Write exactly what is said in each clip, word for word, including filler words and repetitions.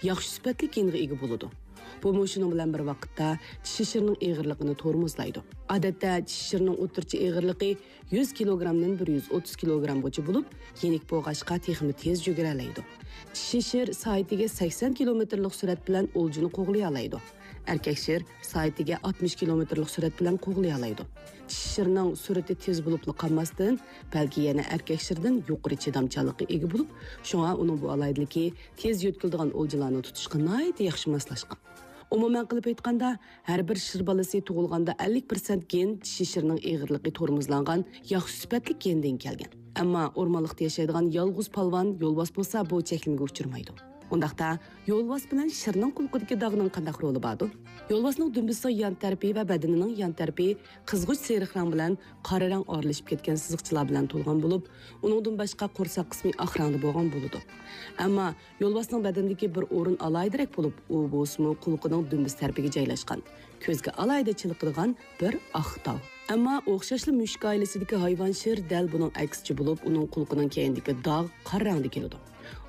ياخشى سۈپەتلىك گېنغا ئىگە بولىدۇ. بۇمۇ شۇنىڭ بىلەن بىر ۋاقىتتا چىشى شىرنىڭ ئېغىرلىقىنى تورمۇزلايدۇ. ئادەتتە چىشى شىرنىڭ ئوتتۇرىچە ئېغىرلىقى يۈز كىلوگرامدىن بىر يۈز ئوتتۇز كىلوگرامغىچە بولۇپ، يېنىك بولغاچقا تېخىمۇ تېز يۈگۈرەلەيدۇ. چىشى شىر سائىتىگە سەكسەن كىلومېتىرلىق سۈرئەت بىلەن ئولجىنى قوغلىيالايدۇ. ئەركەك شىر سائىتىگە ئاتمىش كىلومېتىرلىق سۈرئەت بىلەن قوغلىيالايدۇ. چىشى شىرنىڭ سۈرئىتى تېز بولۇپلا قالماستىن، بەلكى يەنە ئەركەك شىردىن يۇقىرى چىدامچانلىققا ئىگە بولۇپ، شۇڭا ئۇنىڭ بۇ ئالاھىدىلىكى تېز يۆتكىلىدىغان ئولجىلارنى تۇتۇشقا ناھايىتى ياخشى ماسلاشقان. ئومۇمەن قىلىپ ئېيتقاندا، ھەر بىر شىر بالىسى تۇغۇلغاندا ئەللىك پىرسەنت گېن چىشى شىرنىڭ ئېغىرلىقى تورمۇزلانغان ياخشى سۈپەتلىك گېندىن كەلگەن. ئەمما ئورمانلىقتا ياشايدىغان يالغۇز پالۋان يولۋاس بولسا بۇ چەكلىمىگە ئۇچرىمايدۇ. ئۇنداقتا، يولۋاس بىلەن شىرنىڭ قۇلىقىدىكى داغنىڭ قانداق رولى باردۇ؟ يولۋاسنىڭ دۈمبىسىنىڭ يان تەرىپى ۋە بەدىنىنىڭ يان تەرىپى قىزغۇچ سېرىق رەڭ بىلەن قارا رەڭ ئارىلىشىپ كەتكەن سىزىقچىلار بىلەن تولغان بولۇپ، ئۇنىڭدىن باشقا قورساق قىسمى ئاق رەڭدە بولغان بولىدۇ. ئەمما يولۋاسنىڭ بەدىنىدىكى بىر ئورۇن ئالاھىدىرەك بولۇپ، ئۇ بولسىمۇ قۇلىقىنىڭ دۈمبىسى تەرىپىگە جايلاشقان، كۆزگە ئالاھىدە چېلىقىدىغان بىر ئاق داغ. ئەمما ئوخشاشلا مۈشۈك ئائىلىسىدىكى ھايۋان شىر دەل بۇنىڭ ئەكسىچە بولۇپ، ئۇنىڭ قۇلىقىنىڭ كەينىدىكى داغ قارا رەڭدە كېلىدۇ.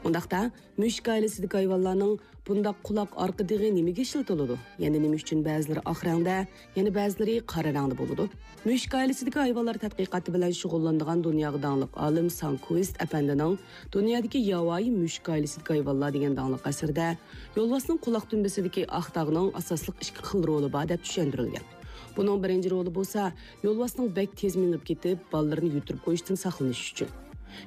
ئۇنداقتا، مۈشۈك ئائىلىسىدىكى ھايۋانلارنىڭ بۇنداق قۇلاق ئارقا دېغى نېمىگە ئىشلىتىلىدۇ؟ يەنە نېمە ئۈچۈن بەزىلىرى ئاق رەڭدە، يەنە بەزىلىرى قارا رەڭدە بولىدۇ؟ مۈشۈك ئائىلىسىدىكى ھايۋانلار تەتقىقاتى بىلەن شۇغۇللىنىدىغان دۇنياغا داڭلىق ئالىم سانكۋىست ئەپەندىنىڭ دۇنيادىكى ياۋايى مۈشۈك ئائىلىسىدىكى ھايۋانلار دېگەن داڭلىق ئەسىرىدە يولۋاسنىڭ قۇلاق دۈمبىسىدىكى ئاق داغنىڭ ئاساسلىق ئىككى خىل رولى بار دەپ چۈشەندۈرۈلگەن. بۇنىڭ بىرىنچى رولى بولسا يولۋاسنىڭ بەك تېز مېڭىپ كېتىپ، بالىلىرىنى يۈتۈرۈپ قويۇشتىن ساقلىنىش ئۈچۈن.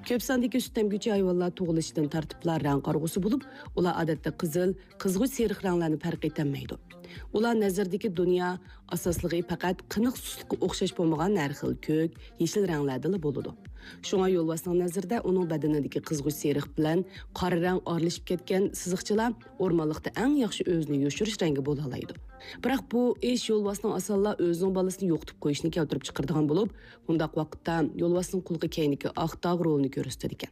كۆپ ساندىكى سۈت ئەمگۈچى ھايۋانلار تۇغۇلۇشىدىن تارتىپلا رەڭ قارىغۇسى بولۇپ، ئۇلار ئادەتتە قىزىل، قىزغۇچ سېرىق رەڭلەرنى پەرق ئېتەلمەيدۇ. ئۇلار نەزىرىدىكى دۇنيا ئاساسلىقى پەقەت قېنىق سۈتكە ئوخشاش بولمىغان ھەر خىل كۆك، يېشىل رەڭلەردىلا بولىدۇ. شۇڭا يولۋاسنىڭ نەزىرىدە ئۇنىڭ بەدىنىدىكى قىزغۇچ سېرىق بىلەن قارا رەڭ ئارىلىشىپ كەتكەن سىزىقچىلار ئورمانلىقتا ئەڭ ياخشى ئۆزىنى يوشۇرۇش رەڭگى بولالايدۇ. بىراق بۇ ئىش يولۋاسنىڭ ئاسانلا ئۆزىنىڭ بالىسىنى يوقىتىپ قويۇشىنى كەلتۈرۈپ چىقىرىدىغان بولۇپ، بۇنداق ۋاقىتتا يولۋاسنىڭ قۇلىقى كەينىدىكى ئاق داغ رولىنى كۆرسىتىدىكەن.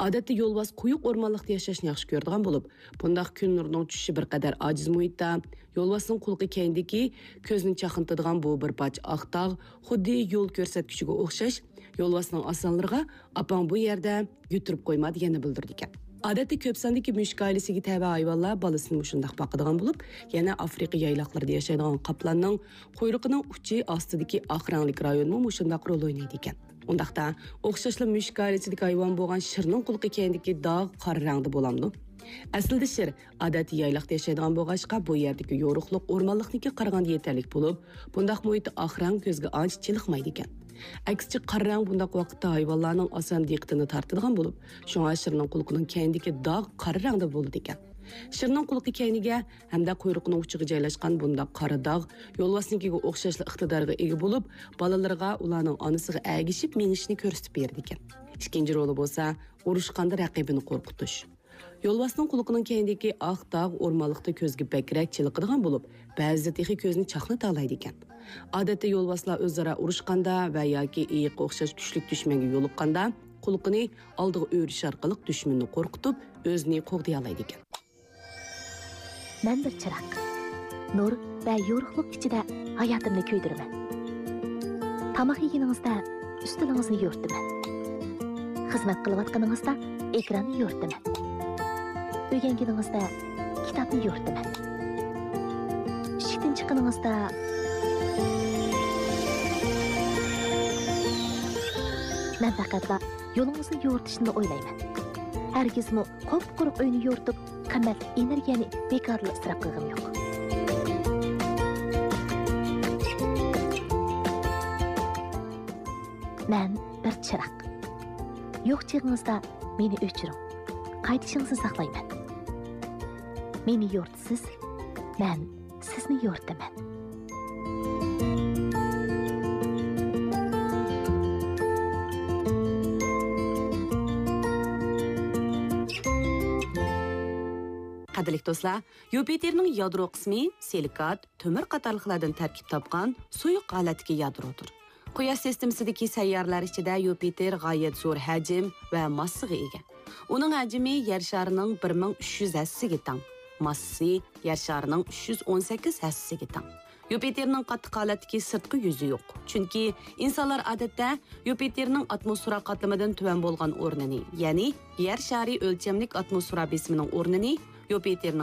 ئادەتتە يولۋاس قويۇق ئورمانلىقتا ياشاشنى ياخشى كۆرىدىغان بولۇپ، بۇنداق كۈن نۇرىنىڭ چۈشۈشى بىر قەدەر ئاجىز مۇھىتتا، يولۋاسنىڭ قۇلىقى كەينىدىكى كۆزنى چاقنىتىدىغان بۇ بىر پارچە ئاق داغ خۇددى يول كۆرسەتكۈچىگە ئوخشاش، يولۋاسنىڭ ئاسانلىرىغا «ئاپاڭ بۇ يەردە، يۈتۈرۈپ قويما» دېگەننى بىلدۈرىدىكەن. ئادەتتە كۆپ ساندىكى مۈشۈك ئائىلىسىگە تەۋە ھايۋانلار بالىسىنى مۇشۇنداق باقىدىغان بولۇپ، يەنە ئافرىقا يايلاقلىرىدا ياشايدىغان قاپلاننىڭ قۇيرۇقىنىڭ ئۇچى ئاستىدىكى ئاق رەڭلىك رايونمۇ مۇشۇنداق رول ئوينايدىكەن. ئۇنداقتا، ئوخشاشلا مۈشۈك ئائىلىسىدىكى ھايۋان بولغان شىرنىڭ قۇلىقى كەينىدىكى داغ قارا رەڭدە بولامدۇ؟ ئەسلىدە شىر ئادەتتە يايلاقتا ياشايدىغان بولغاچقا، بۇ يەردىكى يورۇقلۇق ئورمانلىقنىڭكىگە قارىغاندا يېتەرلىك بولۇپ، بۇنداق مۇھىتتا ئاق رەڭ كۆزگە ئانچە چېلىقمايدىكەن. ئەكسىچە، قارا رەڭ بۇنداق ۋاقىتتا ھايۋانلارنىڭ ئاسان دىققىتىنى تارتىدىغان بولۇپ، شۇڭا شىرنىڭ قۇلىقىنىڭ كەينىدىكى داغ قارا رەڭدە بولىدىكەن. شىرنىڭ قۇلىقى كەينىگە ھەمدە قۇيرۇقىنىڭ ئۇچىغا جايلاشقان بۇنداق قارا داغ يولۋاسنىڭكىگە ئوخشاشلا ئىقتىدارغا ئىگە بولۇپ، بالىلىرىغا ئۇلارنىڭ ئانىسىغا ئەگىشىپ مېڭىشىنى كۆرسىتىپ بېرىدىكەن. ئىككىنچى رولى بولسا، ئۇرۇشقاندا رەقىبىنى قورقۇتۇش. يولۋاسنىڭ قۇلىقىنىڭ كەينىدىكى ئاق داغ ئورمانلىقتا كۆزگە بەكرەك چېلىقىدىغان بولۇپ، بەزىدە تېخى كۆزنى چاقنىتالايدىكەن. ئادەتتە يولۋاسلار ئۆزئارا ئۇرۇشقاندا ۋە ياكى ئېيىققا ئوخشاش كۈچلۈك دۈشمەنگە يولۇققاندا، قۇلىقىنى ئالدىغا ئۆرۈش ئارقىلىق دۈشمىنىنى قورقۇتۇپ، ئۆزىنى قوغدىيالايدىكەن. مەن بىر چىراغ. نۇر ۋە يورۇقلۇق ئىچىدە ھاياتىمنى كۆيدۈرىمەن. تاماق يېگىنىڭىزدە ئۈستىلىڭىزنى يورۇتىمەن. خىزمەت قىلىۋاتقىنىڭىزدا ئېكراننى يورۇتىمەن. ئۆگەنگىنىڭىزدە كىتابنى يورۇتىمەن. ئىشىكتىن چىققىنىڭىزدا مەن پەقەتلا يولىڭىزنى يورۇتۇشنىلا ئويلايمەن. ھەرگىزمۇ قۇپقۇرۇق ئۆينى يورۇتۇپ، قىممەتلىك ئېنېرگىيەنى بىكارلا ئىسراپ قىلغىنىم يوق. مەن بىر چىراغ. يوق چېغىڭىزدا مېنى ئۆچۈرۈڭ. قايتىشىڭىزنى ساقلايمەن. مېنى يورۇتىسىز، مەن سىزنى يورۇتىمەن. قەدىرلىك دوستلار، يۇپىتېرنىڭ يادرو قىسمى سىلىكات، تۆمۈر قاتارلىقلاردىن تەركىب تاپقان سۇيۇق ھالەتتىكى يادرودۇر. قۇياش سىستېمىسىدىكى سەييارىلەر ئىچىدە يۇپىتېر غايەت زور ھەجىم ۋە ماسسىغا ئىگە. ئۇنىڭ ھەجمى يەر شارىنىڭ بىر مىڭ ئۈچ يۈز ھەسسىسىگە تەڭ، ماسسىسى يەر شارىنىڭ ئۈچ يۈز ئون سەككىز ھەسسىسىگە تەڭ. يۇپىتېرنىڭ قاتتىق ھالەتتىكى سىرتقى يۈزى يوق، چۈنكى ئىنسانلار ئادەتتە يۇپىتېرنىڭ ئاتموسفېرا قاتلىمىدىن تۆۋەن بولغان ئورنىنى، يەنى يەر شارى ئۆلچەملىك ئاتموسفېرا بېسىمىنىڭ ئورنىنى يۇپىتېرنىڭ